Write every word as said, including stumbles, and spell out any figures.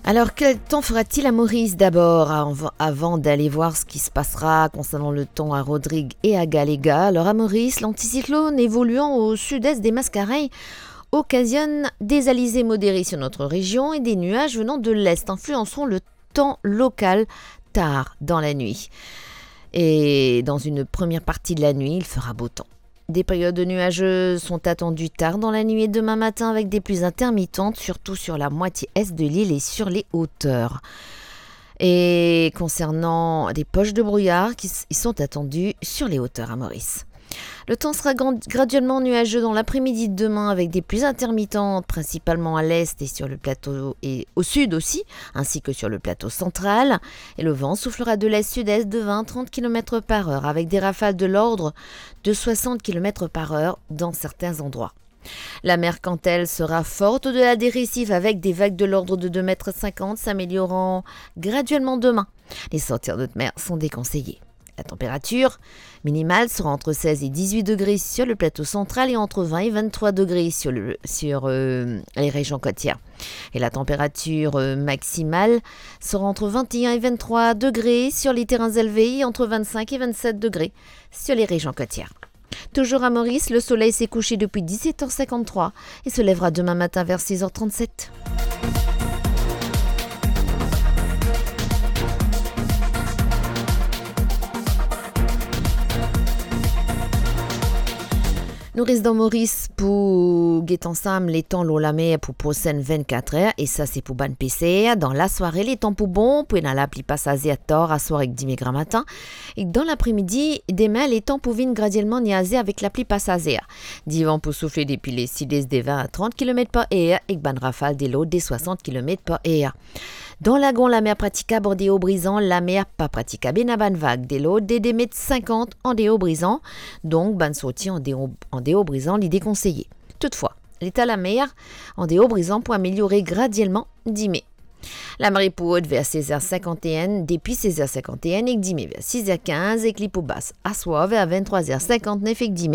Alors, quel temps fera-t-il à Maurice d'abord, av-, avant d'aller voir ce qui se passera concernant le temps à Rodrigues et à Galléga ? Alors, à Maurice, l'anticyclone évoluant au sud-est des Mascareignes occasionne des alizés modérés sur notre région et des nuages venant de l'est influenceront le temps local tard dans la nuit. Et dans une première partie de la nuit, il fera beau temps. Des périodes nuageuses sont attendues tard dans la nuit et demain matin avec des pluies intermittentes, surtout sur la moitié est de l'île et sur les hauteurs. Et concernant des poches de brouillard qui s-, ils sont attendus sur les hauteurs à Maurice. Le temps sera grand-, graduellement nuageux dans l'après-midi de demain avec des pluies intermittentes, principalement à l'est et sur le plateau et au sud aussi, ainsi que sur le plateau central. Et le vent soufflera de l'est-sud-est de vingt à trente kilomètres par heure avec des rafales de l'ordre de soixante kilomètres par heure dans certains endroits. La mer, quant à elle, sera forte au-delà des récifs avec des vagues de l'ordre de deux mètres cinquante, s'améliorant graduellement demain. Les sorties en haute mer sont déconseillées. La température minimale sera entre seize et dix-huit degrés sur le plateau central et entre vingt et vingt-trois degrés sur le, sur, euh, les régions côtières. Et la température, euh, maximale sera entre vingt et un et vingt-trois degrés sur les terrains élevés et entre vingt-cinq et vingt-sept degrés sur les régions côtières. Toujours à Maurice, le soleil s'est couché depuis dix-sept heures cinquante-trois et se lèvera demain matin vers six heures trente-sept. Nou res dan Moris pou get ansam letan lor lamer pou prosenn vennkat er, e sa se pou bann peser. Dan lasware, letan pou bon, pou ena lapli pasazer tar aswar ek dime gramatin. E dan lapremidi, demin, letan pou vinn gradielman niaze avek lapli pasazer. Divan pou soufle depi le sid-est de vin a trant kilomet par er ek bann rafal de lord de swasant kilomet par er. Dan Lagon, lamer pratikab andeor Brizan, lamer pa pratikab, ena bann vag de lord de de met sinkant andeor Brizan, donk bann sorti andeor, andeor Brizan, li dekonseye. Toutfwa, leta lamer andeor Brizan pou ameliore gradielman dime. Lamari pou rod ver sez er sinkant-e-enn, depi sez er sinkant-e-enn, ek dime ver siz er kinz, ek li pou bas aswar ver venntrwa er sinkant-nef ek dime